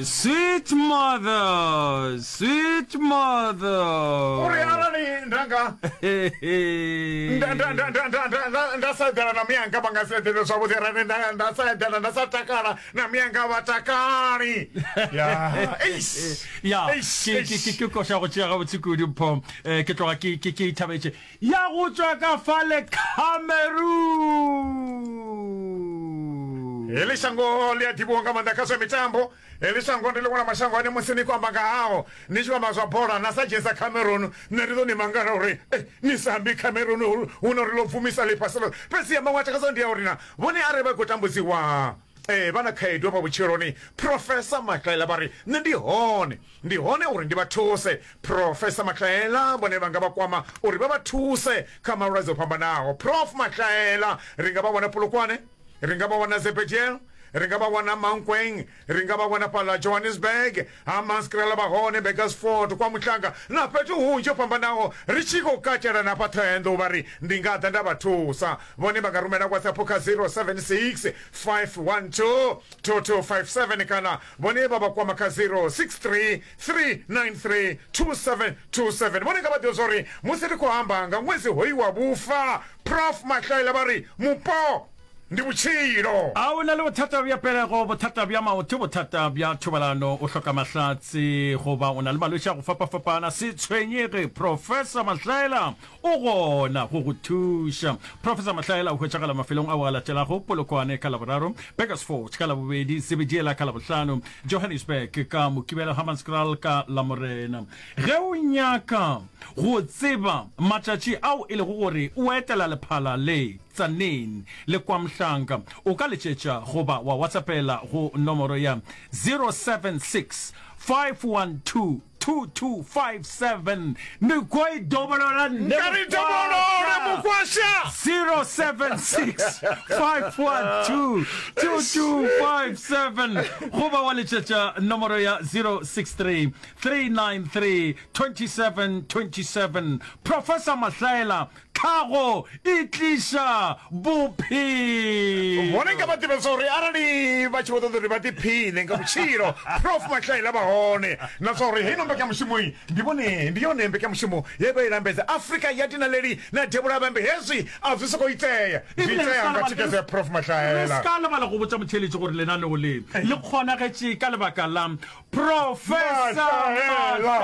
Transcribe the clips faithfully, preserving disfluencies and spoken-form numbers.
Sweet mother, sweet mother. Uri arali nda nga nda nda nda nda nda nda nda nda sa eḓela na miyanga vha nga si eḓele zwavhuḓi arali nda nda sa eḓela nda sa takala na miyanga vha takali ya eish ya eish ke ke ke eish ke koša go tšea gabotse kudu mpho eh, ke tloga ke ke ke ithabetše ya go tšwa ka fale Cameroon. Heḽi shango ḽi a ḓivhiwa nga maanḓa kha zwa mitambo. Heḽi shango ndi ḽiṅwe ḽa mashango ane musi ni khou amba nga hao, ni tshi khou amba zwa bola na sa dzhenisa Cameroon, nṋe ndi ḓo ni mangala uri eh, ni sa ambi Cameroon hu na uri ḽo bvumisa ḽifhasi ḽoṱhe. Fhedziha maṅwe a takadzaho ndi a uri na vhone arali vha khou tambudziwa eh, vha na khaedu hafha vhutshiloni, Professor Mahlaela vha ri nṋe ndi hone, ndi hone uri ndi vha thuse. Professor Mahlaela vhone vha nga vha kwama uri vha vha thuse kha malwadze o fhambanaho. Prof Mahlaela ri nga vha wana Polokwane, ri nga vha wana Zebediel, ri nga vha wana Mankweng, ri nga vha wana fhaḽa Johannesburg, Hammanskraal vha hone, Burgersfort, kwa Muhlanga na fhethu hunzhi ho fhambanaho, ri tshi khou katela na fha Thohoyandou vha ri ndi nga ḓa nda vha thusa. Vhone vha nga rumela WhatsApp kha zero seven six five one two two two five seven kana vhone vha vha kwama kha zero six three three nine three two seven two seven. Vhone nga vha ḓivhe zwa uri musi ri khou amba nga ṅwedzi hoyu wa vhufa, Prof Mahlaela vha ri mupo ndi vhutshilo. A o na le bothata bja pelego, bothata bja maoto, bothata bja thobalano, o hloka mahlatse, goba o na le malwetši a go fapafapana? Se tshwenyege, Professor Mahlaela o gona go go thuša. Professor Mahlaela o hwetšagala mafelong ao a latelago, Polokwane ka Laboraro, Burgersfort ka Labobedi, Zebediela ka Labohlano, Johannesburg ka Mokibelo, Hammanskraal ka Lamorena. Ge o nyaka go tseba matšatši ao e lego gore o etela lephala le, Tzaneen le KwaMhlanga, o ka letšetša goba wa WhatsAppela go nomoro ya zero seven six five one two two two five seven. Ndi khou i dovholola nṋe Nka ri dovholole Mukwasha. Mukwasha. zero seven six five one two two two five seven goba wa letšetša nomoro ya zero six three three nine three twenty seven twenty seven. Professor Mahlaela, tlhago e tliša bophelo. Vhone nga vha ḓivhe zwa uri arali vha tshi vho ṱoḓa uri vha ḓiphine nga vhutshilo, Prof Mahlaela vha hone, na zwa uri heino mbekanyamushumo ndi vhone ndi yone mbekanyamushumo ye vha i lambedza Afrika ya Dinaleli na Devhula ha Vhembe. Hezwi a zwi sokou itea, zwi itea nga thikhedzo ya Prof Re Mahlaela. se ka lebala go botša motheeletši gore lenaneo le le kgonagetše ka lebaka la Professor Mahlaela.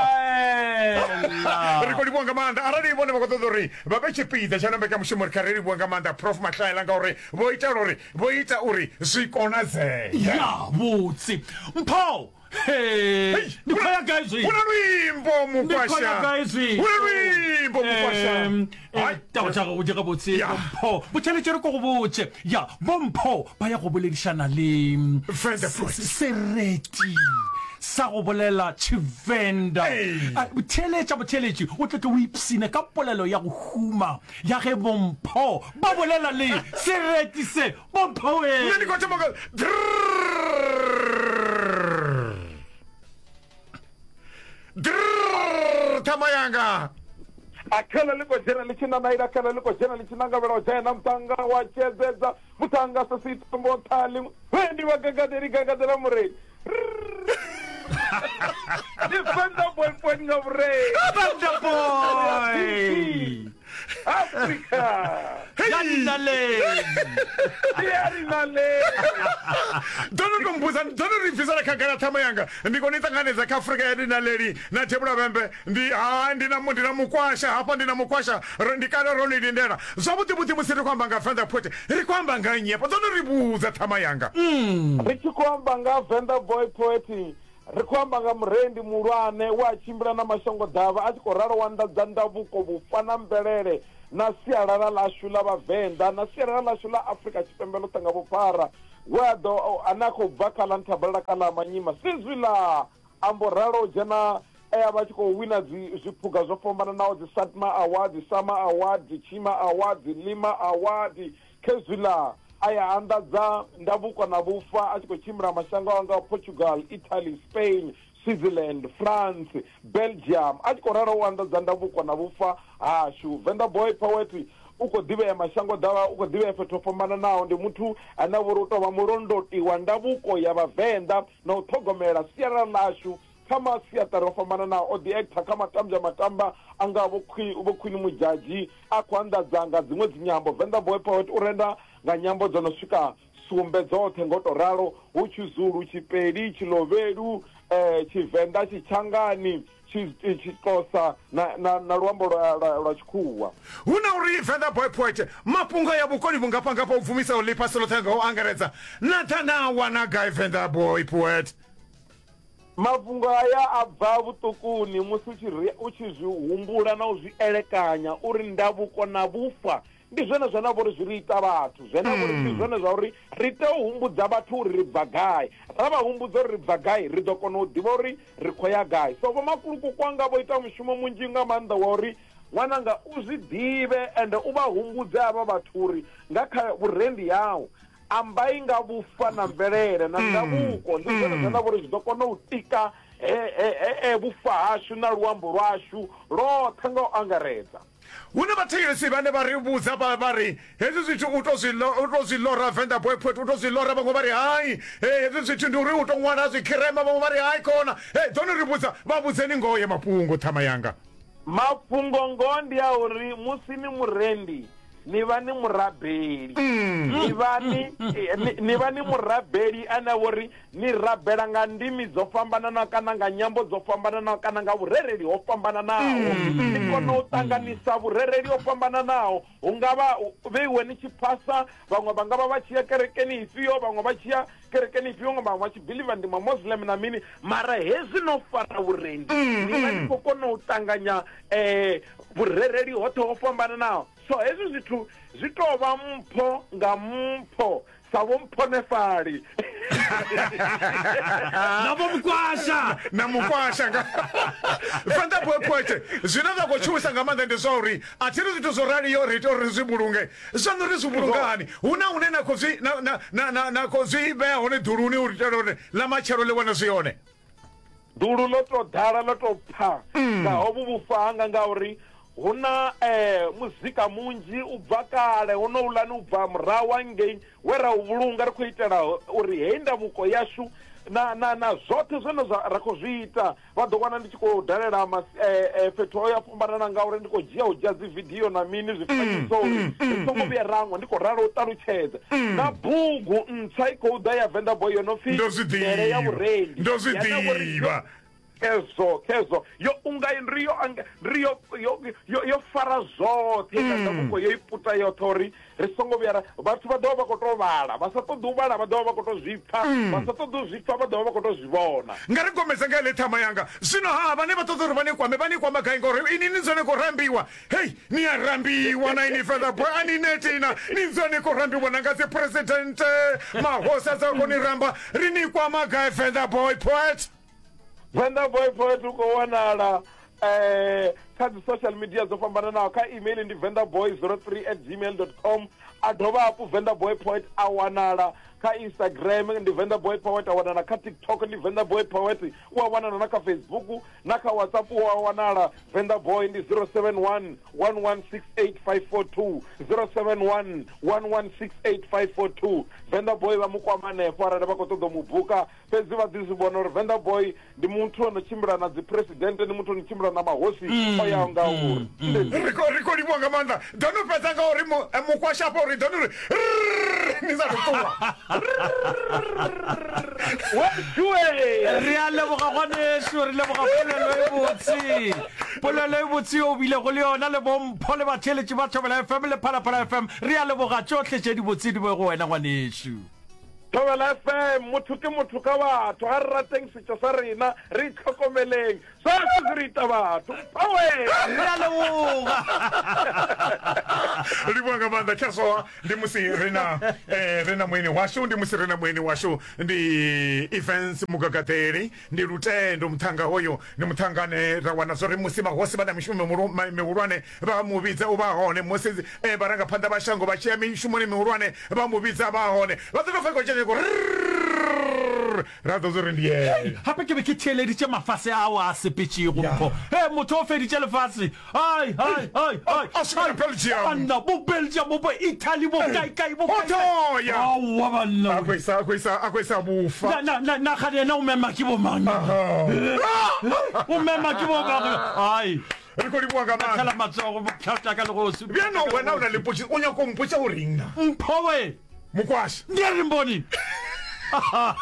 Mahlaela. Ri khou livhuwa nga maanḓa arali vhone vha khou ṱoḓa uri vha vhe tshipiḓa tsha ino mbekanyamushumo, ri kha ri livhuwa nga maanḓa Prof Mahlaela ngauri vho itela uri vho ita uri zwi konadzee. Ya vhutsi Mpho, he ndi khou ya gai Hu na zwino? luimbo Ndi khou ya Mukwasha, gai zwino? hu na luimbo Mukwasha. Em, eh, Hai. taba tša gago di gabotse Ya. Mpho, botšheletše re ko go botše. Ya, bo Mpho ba ya go boledišana le Venda Poet. sereti sa go bolela Tshivenda. Ee. A, Theeletša botheeletši, o tle tle o ipsine ka polelo ya go huma ya ge boMpho ba bolela le sereti se. Bompho we! Nṋe ndi khou thoma nga drrrr. Drrrr, ṱhama yanga. A khala ḽi khou dzhena ḽi tshi nanaila, khala ḽi khou dzhena ḽi tshi nangavhela u dzhena muṱhannga wa tshedzedza, muṱhannga sa si tombo nṱha ḽiṅwe. He ndi vha gagadeli gagadela mureili. Ndi Venḓa boy point nga vhureili. Venḓa boy! Afrika. Ya dinaledi. Ya dinaledi. Ḓo no tou mbudza, ḓo no ri bvisela khagala ṱhama yanga. Ndi kone u ṱanganedza kha Afrika ya dinaleli na Devhula Vhembe. Ndi ha ndi na ndi na mukwasha hafha ndi na mukwasha ro ndi kale ro ni lindela. Zwavhuḓi vhuḓi musi ri khou amba nga Venḓa Poet ri khou amba nga nnyi hafha? Ḓo no ri vhudza ṱhama yanga. Ri tshi khou amba nga Venḓa Boy Poet ri khou amba nga murendi muhulwane we a tshimbila na mashango ḓavha a tshi khou ralo wa anḓadza ndavhuko, vhufa na mvelele na sialala ḽashu ḽa Vhavenḓa na sialala ḽashu ḽa Afrika Tshipembe ḽoṱhe nga vhuphara, we a ḓo ane a khou bva kha ḽa Nthabalala kha ḽa Manyima Sizwila a mbo ralo u dzhena e a vha a tshi khou wina dzi zwiphuga zwo fhambananaho dzi Satma Award, Sama Award, Tshima Award, Lima Award. Khezwiḽa a ya anḓadza ndavhuko na vhufa a tshi khou tshimbila mashango a ngaho Portugal, Italy, Spain, Switzerland, France, Belgium a tshi khou ralo u anḓadza ndavhuko na vhufa hashu. Venḓa Boy Poet u khou ḓivhea mashango ḓavha, u khou ḓivhea fhethu ho fhambananaho. Ndi muthu ane a vha uri u tou vha mulondoti wa ndavhuko ya Vhavenḓa na u ṱhogomela sialala ḽashu kha masiaṱari o fhambananaho. O ḓi actor kha matambya matamba a nga vho Queen, vho Queen Mudzhadzhi, a khou anḓadza nga dziṅwe dzinyambo. Venḓa Boy Poet u renda nga nyambo dzo no swika sumbe dzoṱhe ngo to ralo, hu Tshizulu, Tshipedi, Tshilovhelu, eh, Tshivenḓa, Tshitshangani, Tshixhosa na, na, na luambo lwa, lwa, lwa Tshikhuwa. Hu na uri Venḓa Boy Poet mafhungo ya vhukoni vhungafhangafha u bvumisaho ḽifhasi ḽoṱhe nga u angaredza na ḓa na wana gai Venḓa Boy Poet? Mafhungo aya a bva vhuṱukuni musi u tshi ri, u tshi zwi humbula na u zwi elekanya uri ndavhuko na vhufa ndi zwone zwine vho ri zwi ri ita vhathu, zwine vho ri ndi zwone zwa uri ri tea u humbudza vhathu uri ri bva gai. Ra vha humbudza uri ri bva gai, ri ḓo kona u ḓivha uri ri khou ya gai. So vhomakulukuku wanga vho ita mushumo munzhi nga maanḓa wa uri ṅwananga u zwi ḓivhe ende u vha humbudze havha vhathu uri nga kha vhurendi hau ambai nga vhufa na mvelele na ndavhuko, ndi zwone zwine vho ri zwi ḓo kona u tika he, he, he, he vhufa hashu na luambo lwashu lwoṱhe nga u angaredza. Hu na vhathetshelesi vhane vha ri vhudza vha vha ri hezwi zwithu u to zwi u to zwi lora Venḓa Boy Poet, u to zwi lora. Vhaṅwe vha ri hai, hey, hezwi zwithu ndi uri u to ṅwala zwikhirema. Vhaṅwe vha ri hai khona. Hey, ḓo ni ri vhudza, vha vhudzeni ngoho ya mafhungo ṱhama yanga. Mafhungo ngoho ndi a uri musi ni murendi ni vha ni murabeli, ni vha ni, ni, ni vha ni murabeli ane a vhori ni rabela nga ndimi dzo fhambananaho kana nga nyambo dzo fhambananaho kana nga vhurereli ho fhambananaho. Ni kona u ṱanganisa vhurereli ho fhambananaho, hu nga vha vheiwe ni tshi phasa, vhaṅwe vha nga vha vha tshi ya kerekeni ifhio, vhaṅwe vha tshi ya kerekeni ifhio, vhaṅwe vha tshi believe ndi ma Muslim na mini, mara hezwi no fara vhurendi ni vha ni khou kona u ṱanganya eh, vhurereli hoṱhe ho fhambananaho. So hezwi zwithu zwi tou vha mpho nga mpho sa vho mphonefali na vho mukwasha na mukwasha nga Venḓa Boy Poet. Zwine zwa khou tshuwisa nga maanḓa ndi zwa uri a thi ri zwithu zwo raliho ri tea uri ri zwi vhulunge. Zwaṋu ri zwi vhulunga hani? Hu na hune na khou zwi na na na na na khou zwi vhea hone ḓuluni u itela uri ḽa matshelo ḽi wane zwi hone? Ḓulu ḽo tou ḓala, ḽo tou pha nga hovhu vhufa hanga, ngauri hu na eh, muzika munzhi u bva kale honouḽani u bva murahu hangei we ra u vhulunga ri khou itela uri heyi ndavhuko yashu na na na zwoṱhe zwine zwa ra khou zwi ita. Vha ḓo wana ndi tshi khou dalela mas, eh, eh, fhethu ho ya fhambanana ngauri ndi khou dzhia u dzhia dzi video na mini zwifanyiso uri ri songo vhuya rangwa. Ndi khou ralo u ṱalutshedza na bugu ntswa i khou ḓa ya Venḓa Boy yo no pfi Ndo zwi Ndele ya ḓivha, Vhurendi, ndo zwi yane vho ri ḓivha. Khezwo khezwo yo unga ndi yo ndi yo yo yo yo fara zwoṱhe nga ndavhuko, yo i puta yoṱhe uri ri songo vhuya ra vhathu vha ḓovha vha khou tou vhala, vha sa ṱoḓi u vhala vha ḓovha vha khou tou zwi pfa, vha sa ṱoḓi u zwi pfa vha ḓovha vha khou tou zwi vhona. Nga ri gomedza nga heḽi ṱhama yanga zwino. Ha vhane vha ṱoḓa uri vha ni kwame, vha ni kwama gai? Ngauri ini ni dzone khou rambiwa. Hei, ni a rambiwa na ini Venḓa Boy, a ni netina, ni dzone khou rambiwa na nga dzi presidente, mahosi a dza khou ni ramba. Ri ni kwama gai Venḓa Boy Poet? Venḓa Boy Poet u khou wanala eh kha dzi social media dzo fhambananaho. Kha email ndi vendaboy zero three at gmail dot com. A dovha hafhu Venḓa Boy Poet a wanala kha Instagram ndi Venḓa Boy Poet, a wanala kha TikTok ndi Venḓa Boy Poet, u a wanala na kha Facebook na kha WhatsApp u a wanala. Venḓa Boy ndi zero seven one one one six eight five four two, zero seven one one one six eight five four two. Venḓa Boy vha mu kwama hanefho arali vha khou ṱoḓa u mu buka. Fhedzi vha ḓi zwi vhona uri Venḓa Boy ndi muthu o no tshimbila na dzi president, ndi muthu o no tshimbila na mahosi o yaho nga uri ri khou ri khou livhuwa nga maanḓa. Ḓo no fhedza nga uri mukwasha afha uri ḓo no ri ni sa tou ṱuwa. Re a leboga ngwaneso, re leboga polelo e botse, polelo e botse yo o bilego le yona le bompho le batheeletši ba Thobela F M le Phalaphala F M. Re a leboga, tšohle tše dibotse di be go wena ngwaneso. Thobela F M, motho ke motho ka batho. Ga re rateng setšo sa rena, re itlhokomeleng, sohle se re ita batho. Power! Re a leboga. Livhuwa nga maanḓa. Khezwoa ndi musi ri na eh, ri na mueni washu, ndi musi ri na mueni washu ndi Evans Mugagaḓeli, ndi Lutendo muṱhanga. Hoyo ndi muṱhanga ane ra wana zwori musi mahosi vha na mishumo mihulwane vha mu vhidza u vha hone, musi eh, vharangaphanḓa vha shango vha tshi ya mishumoni mihulwane vha mu vhidza vha hone. Vha ḓo tou pfa khou ra ḓo uri ndi ene. Gape ke be ke theeleditše mafase ao a sepetšego Mpho. He motho o feditše lefase. Hai hai hai hai. A swikela Belgium. Banna bo Belgium bo bo Italy bo kae kae bo Ho kae kae. toya. Aowa banna. A khou isa a khou isa a khou isa vhufa. Na na na na gane yena o mema ke bo mang? O mema ke bo mang? Ai. Ri khou livhuwa nga maanḓa. Thela matsogo bophata ka legosi. Bjano wena o na le potšiso o nyaka go mpotša o reng na? Mpho we. Mokwasha. Ndi a re mboni.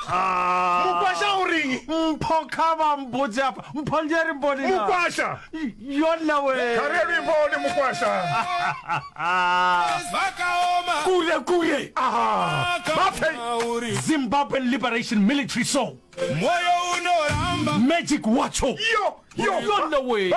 Mokwasha o reng? Mpho kha vha mpotse afha. Mpho ndi a re mboni na. Mokwasha. Yona we. Kha ri ye luimboni Mokwasha. Kule kule. Aha. Baphe. Zimbabwean Liberation Military Song. Magic Wacho. Yo yo. Yona we.